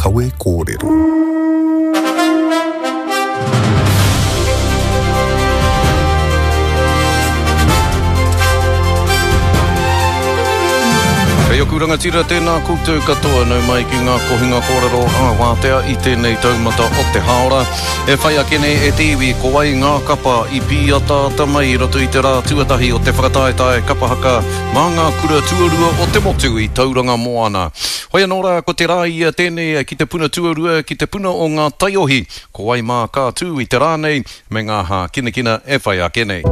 kawe kōrero. Kei oku rangatira tēnā koutou katoa nau mai ki ngā kohinga kōrero ā wātea i tēnei taumata o te hāora. E whai ake nei e te iwi ko wai ngā kapa i pīataata mai i roto i te rā tuatahi o te whakataetae kapa haka mā ngā kura tuarua o te motu i Tauranga Moana. Hoi anō rā ko te rā ia tēnei ki te puna tuarua ki te puna o ngā taiohi ko wai mā ka tū i te rā nei me ngā hākinakina e whai ake nei.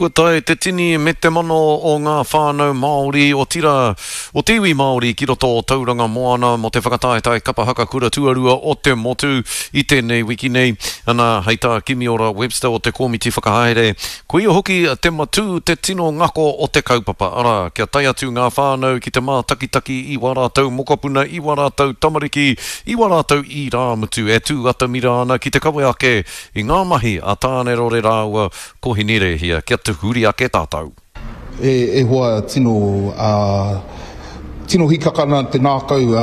Kua tae te tini me te mano o ngā whānau Māori, otirā, o te iwi Māori ki roto o Tauranga Moana mō te whakataetae kapa haka kura tuarua o te motu i tēnei wiki nei. Ana, hei tā Kimiora Webster o te komiti whakahaere, koia hoki te matū, te tino ngako o te kaupapa, arā, kia tae atu ngā whānau ki te mātakitaki i wā rātou mokopuna, i wā rātou tamariki, i wā rātou irāmutu e tū atamira ana ki te kawe ake i ngā mahi a Tānerore rāua ko Hinerēhia kia tuhuri ake tātou. E hoa tino tino hikaka ana te ngākau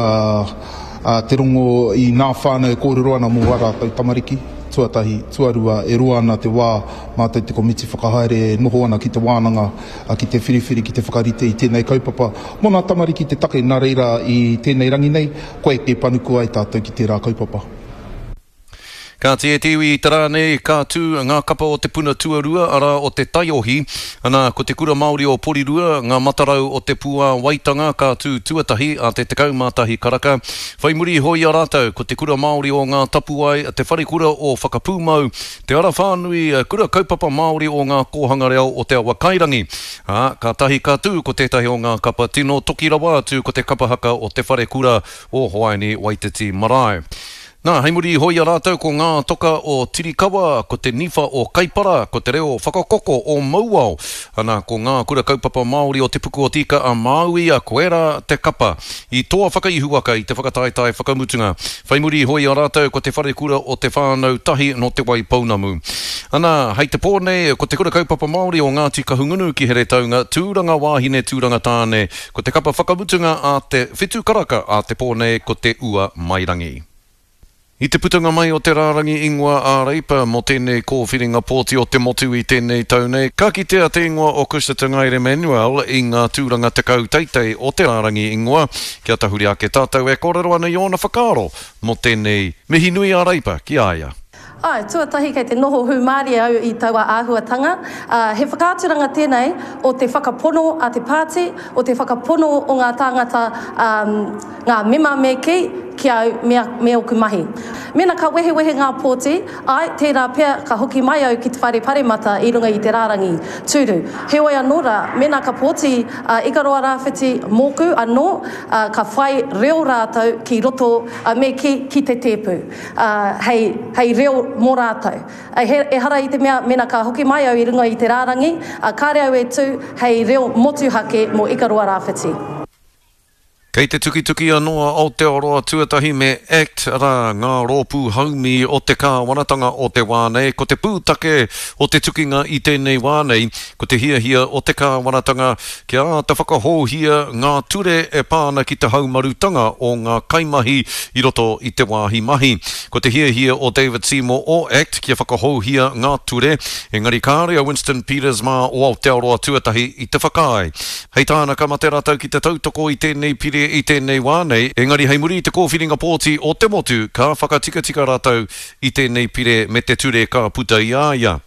te rongo i nā whānau e kōrero ana mō ā rātou tamariki, tuatahi, tuarua, e roa ana te wā mātou te komiti whakahaere e noho ana ki te wānanga ki te whiriwhiri, ki te whakarite i tēnei kaupapa mō nā tamariki te take, nā reira i tēnei rangi nei, kua eke panuku ai tātou ki tērā kaupapa. Kāti e te iwi i te rā nei, ka tū ngā kapa o te puna tuarua, arā, o te taiohi. Ana, ko te Kura Māori o Porirua, ngā matarau o te Puāwaitanga ka tū tuatahi a te 11 karaka. Whai muri iho i a rātou, ko te Kura Māori o Ngā Tapuwae, te Wharekura o Whakapūmau, Te Ara Whānui, Kura Kaupapa Māori o Ngā Kōhanga Reo o Te Awakairangi. Ā, kātahi ka tū ko tētahi o ngā kapa tino toki rawa atu ko te kapa haka o Te Wharekura o Hoaini Waititi Marae. Nā, hei muri iho i a rātou ko ngā toka o Tirikawa, ko te niwha o Kaipara, ko te reo whakakoko o Mauao, ana, ko ngā kura kaupapa Māori o Te Puku o Te Ika a Māui, koirā te kapa i toa whakaihuwaka i te whakataetae whakamutunga. Whai muri iho i a rātou ko te wharekura o Te Whānau Tahi nō Te Waipounamu. Ana, hei te pō nei, ko te kura kaupapa Māori o Ngāti Kahungunu ki Heretaunga, Tūranga Wāhine, Tūranga Tāne, Ko te kapa whakamutunga a te whitu karaka a te pō nei ko Te Ua Mairangi. I te putanga mai o te rārangi ingoa a Reipa mō tēnei kōwhiringa pōti o te motu i tēnei tau nei, ka kitea te ingoa o Cushna Te Ngaere Manuel i ngā tūranga 10 teitei o te rārangi ingoa. Kia tahuri ake tātou e kōrero ana i ōna whakaaro mō tēnei mihi nui a Reipa ki a ia. Āe, tuatahi kei te noho hūmārie au i taua āhuatanga, ā, he whakaaturanga tēnei o te whakapono a te pāti, o te whakapono o ngā tāngata, ā, ngā mema me kī, ki a au me, me ōku mahi. Mēnā ka wehewehe ngā pōti, āe, tērā pea ka hoki mai au ki te whare paremata i runga i te rārangi tūru. Heoi anō rā, mēnā ka pōti a Ikaroa Rāwhiti mōku anō, ā, ka whai reo rātou ki roto, ā, me kī, ki te tēpu. ā, hei, hei reo mō rātou. He, ehara i te mea, mēnā ka hoki mai au i runga i te rārangi, ā, kāre au e tū hei reo motuhake mō Ikaroa Rāwhiti. Kei te tukituki anō a Aotearoa Tuatahi me act, arā, ngā rōpū haumi o te kāwanatanga o te wā nei. Ko te pūtake o te tukinga i tēnei wā nei, ko te hiahia o te kāwanatanga Kia āta whakahouhia ngā ture e pā ana ki te haumarutanga o ngā kaimahi i roto i te wāhi mahi. Ko te hiahia o David Seymour o act kia whakahouhia ngā ture, engari kāre a Winston Peters mā o Aotearoa Tuatahi i te whakaae. Hei tāna ka mate rātou ki te tautoko i tēnei pire i tēnei wā nei, engari hei muri i te kōwhiringa pōti o te motu ka whakatikatika rātou i tēnei pire me te ture ka puta i a ia.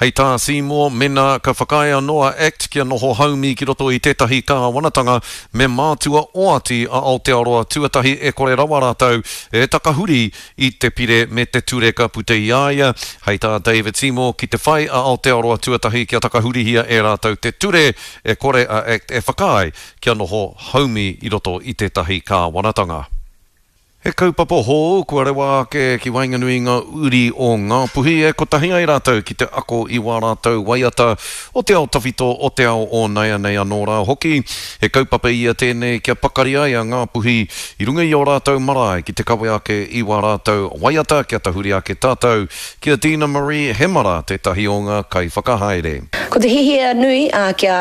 Hei tā Seymour, mena ka whakaae anō a act kia noho haumi ki roto i tētahi kāwanatanga, me mātua oati a Aotearoa tuatahi e kore rawa rātou e takahuri i te pire me te ture ka puta i a ia. Hei tā David Seymour, ki te whai a Aotearoa tuatahi kia takahurihia e rātou te ture, e kore a act e whakaae kia noho haumi i roto i tētahi kāwanatanga. He kaupapa hou kua rewa ake ki waenganui i ngā uri o Ngāpuhi e kotahi ai rātou ki te ako i wā rātou waiata o te ao tawhito, o te ao o naianei anō rā hoki. He kaupapa ia tēnei kia pakari ai a Ngāpuhi i runga i ō rātou marae ki te kawe ake i wā rātou waiata kia tahuri ake tātou ki a Dina Marie Hemara tētahi o ngā kaiwhakahaere. Ko te hihia nui kia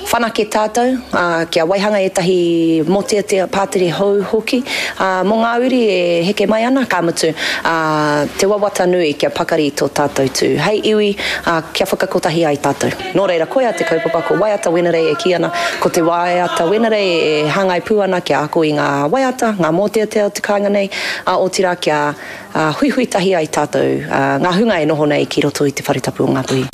Whanake tātou, ā, kia waihanga ētahi mōteatea pātere hou hoki, ā, mō ngā uri e heke mai ana, ka mutu, ā, te wawata nui kia pakari tō tātou tū hei iwi, ā, kia whakakotahi ai tātou. Nō reira, koia te kaupapa, ko Waiata Wenerei e kī ana, ko te waiata Wenerei e hāngai pū ana kia ako i ngā waiata, ngā mōteatea o te kāinga nei, ā, otirā kia huihui tahi ai tātou, ā, ngā hunga e noho nei ki roto i te whare tapu o Ngāpuhi.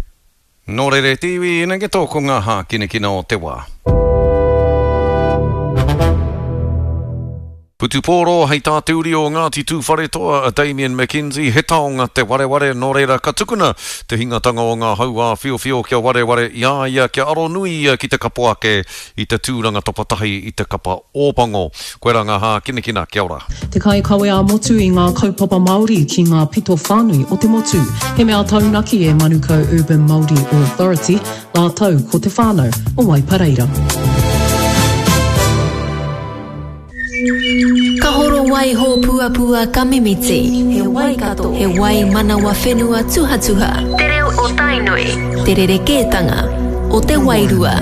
Nō reira e te iwi, ina geto ko ngā hākinakina o te wā. Putupōro hei tā te uri o Ngāti Tūwharetoa a Damian McKenzie, he taonga te wareware, nō reira ka tukuna te hingatanga o ngā hau āwhiowhio kia wareware i a ia, kia aronui ia ki te kapo ake i te tūranga tapatahi i te kapa Ōpango. Koirā ngā hākinakina, kia ora. Te kaikawe ā-motu i ngā kaupapa Māori ki ngā pito whānui o te motu. He mea taunaki e Manukau Urban Māori Authority rātou ko te whānau o Waipareira. Ka horo wai hōpuapua ka mimiti. He Waikato. He wai manawa whenua tuhatuha. Te reo o Tainui. Te rerekētanga o te wairua.